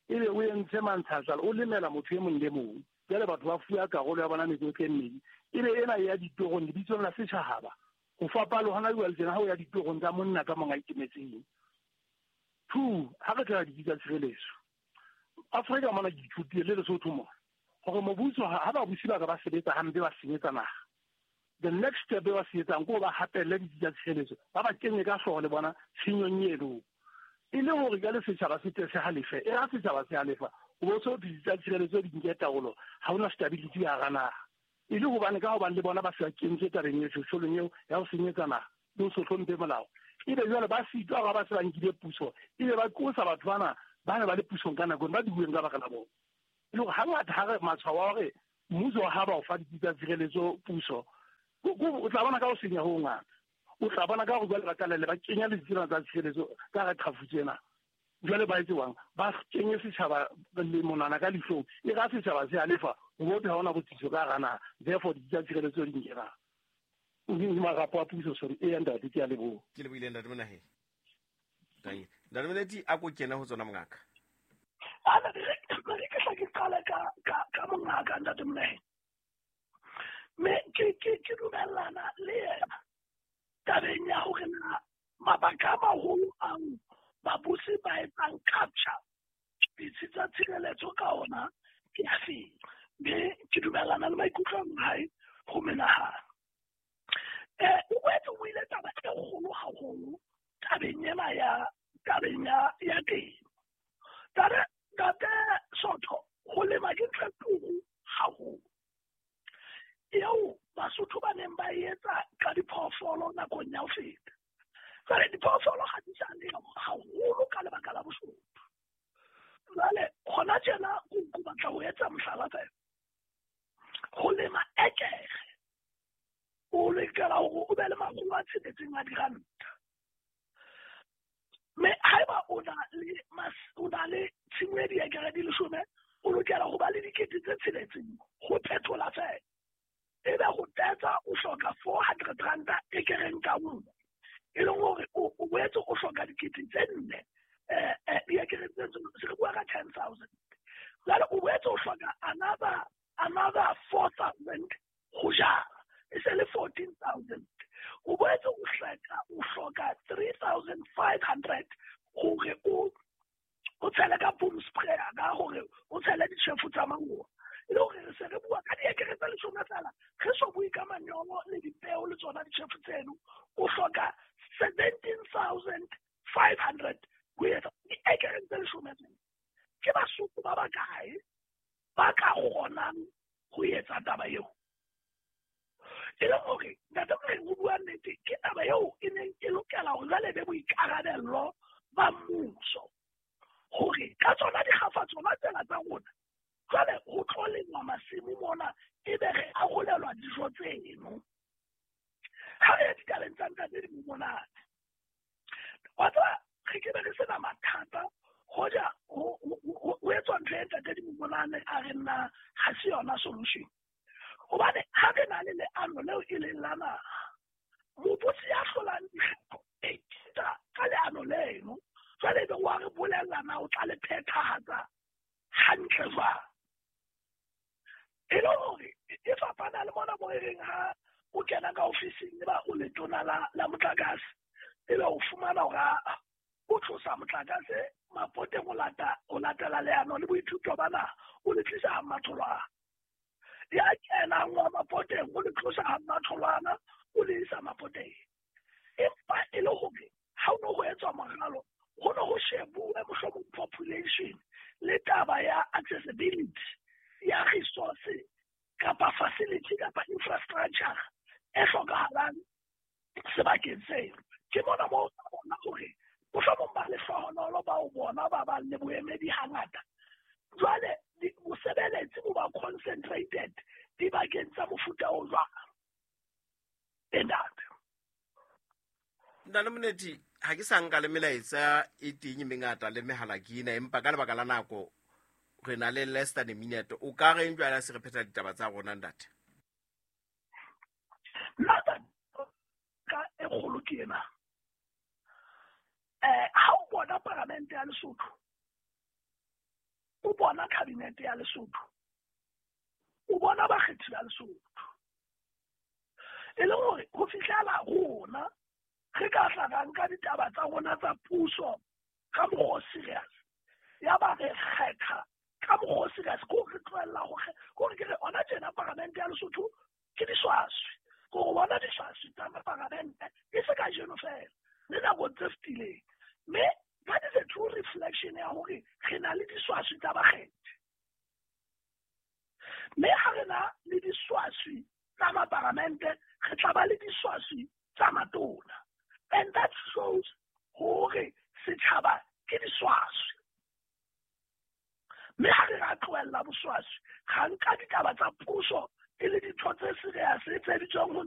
ebe o entse mantshatsala o lemela motho e mong le mong. Jwale batho ba fuwa karolo ya bona mekotla e mmedi. Ebe ena ya ditorong lebitsong la setjhaba. Ho fapana hona jwale tjena ha o ya ditorong tsa monna ka mong a itemetseng. 2, ha re tla ditsi tsa tshireletso. Afrika mona ke ithutile le Lesotho mona hore mobuso ha ba busi ba ka ba sebetsa hampe ba senyetsa naha. The next step ba se etsang ke ba hapelle ditsi tsa tshireletso, ba ba kenye ka hlooho le bona tshenyong eno. E le hore ka le setjhaba se tle se halefe, e ha setjhaba se halefa, o bo so ditsi tsa tshireletso di nke taolo, ha hona stability ya hara naha. E le hobane ka hobane le bona ba se ba kentswe tabeng eo, tjholong eo ya ho senyetsa naha le ho se hlomphe molao. Ebe jwale ba sitwa ha ba se ba nkile puso, ebe ba qosa batho bana ba ne ba le pusong ka nako ba dibueng ka baka la bona. E le hore hangata ha re matshwao a hore mmuso ha ba o fa ditsi tsa tshireletso puso, o tla bona ka ho senya ho ngata. O tla bona ka hore jwale ba qalelle ba kenya le ditsela tsa tshireletso ka hara qhafutso ena. Jwale ba etse jwang? Ba kenye setjhaba le monwana ka lihlong. E ka setjhaba se halefa, ho bote ha hona botsitso ka hara naha. Therefore ditsi tsa tshireletso di nkena. Marapo a puso, sorry. E ya ntate, ke a leboha. Ke lebohile ntate Monahe. Thank you. Ntate Monethi, a ko kene ho tsona mongaka. Ana re ke tla ke qale ka mongaka ntate Monahe. Me ke dumellana le yena tabeng ya hore na mabaka a maholo ao babusi ba etsang capture ditsi tsa tshireletso ka ona ke afeng. Mme ke dumellana le maikutlo a hae ho menahana. O boetse o ile taba e kgolo haholo tabeng ena ya tabeng ya temo. Ntate Sotho, ho lema ke ntho e turu haholo. Eo Basotho ba neng ba etsa ka diphoofolo nakong ya ho feta. Jwale diphoofolo ha di sa le haholo ka lebaka la boshodu. Jwale hona tjena ke batla ho etsa mohlala fela. Ho lema ekere o lokela hore o be le makgolo a tsheletseng a diranta. Mme haeba o na le tshimo e diekere di 10, o lokela ho ba le 6,000 ho phethola fela. Ebe ho tetsa o hloka 400 ranta ekereng ka nngwe. E leng hore o boetse o hloka 4,000 diekere tse se re bua ka 10,000. Jwale o boetse o hloka another 4,000 ho jala. E se le 14,000. O boetse o hloka 3,500 hore o tshele ka boom sprayer ka hore o tshele ditjhefu tsa mangoa. E le hore re se re bua ka diekere tse 10 fela, re so bue ka manyolo le dipeo le tsona ditjhefu tseno, o hloka 17,500 ho etsa diekere tse 10 fela. Ke Basotho ba bakae ba ka kgonang ho etsa taba eo? E leng hore ntate Morena o bua nnete, ke taba eo e neng e lokela hore jwale be boikarabello ba mmuso hore ka tsona dikgafa tsona tsela tsa rona jwale ho tlo lengwa masimo mona, ebe re arolelwa dijo tseno. Ha re ya ditabeng tsa ntate di monate, wa tseba re ke be re sena mathata hoja ho etswa ntho e ntate di monate a re nna ha se yona solution. Hobane ha re na le leano leo e leng la naha, mobotsi ya hlolang dikgetho e kita ka leano leno, jwale ebe wa re bolella na o tla le phethahatsa hantle jwang. E le hore e fapana le mona mo e reng ha o kena ka ofising eba o letona la motlakase, ebe o fumana hore o tlosa motlakase mapoteng o latela leano le boithuto ba naha, o le tlisa ha matholwana. Ya kenang wa mapoteng o le tlosa ha matholwana o le isa mapoteng. Empa e le hore ha o no ho etswa moralo, ho no ho shebuwe mohlomong population le taba ya accessibility ya resource kapa facility kapa infrastructure e hlokahalang sebakeng seo. Ke mona moo o bona hore mohlomong ba lehlohonolo ba o bona ba bang le boemedi hangata. Jwale bosebeletsi bo ba concentrated dibakeng tsa mofuta o jwang. Ntate Ntate Monethi, ha ke sa nka le melaetsa e teng e mengata le mehala ke ena, empa ka lebaka la nako re na le less than a minute. O ka reng jwale ha se re phetha ditaba tsa rona ntate? Nna ka e kgolo ke ena. Ha o bona paramente ya Lesotho, o bona kabinete ya Lesotho, o bona bakgethi ba Lesotho. E leng hore ho fihlela rona re ka tla ra nka ditaba tsa rona tsa puso ka mokgwa o serious, ya ba re kgetha ka mokgwa o serious, ko re tlohella hore ke re ona tjena paramente ya Lesotho ke diswaswi, ko bona diswaswi tsa paramente e se kajeno fela le nakong tse fetileng. Mme that is a true reflection ya hore re na le diswaswi tsa bakgethi. Mme ha re na le diswaswi tsa maparamente, re tla ba le diswaswi tsa matona. And that shows hore setjhaba ke diswaswi. Mme ha re ra tlohella boswaswi, ga nka ditaba tsa puso e le dintho tse serious tse bitswang ho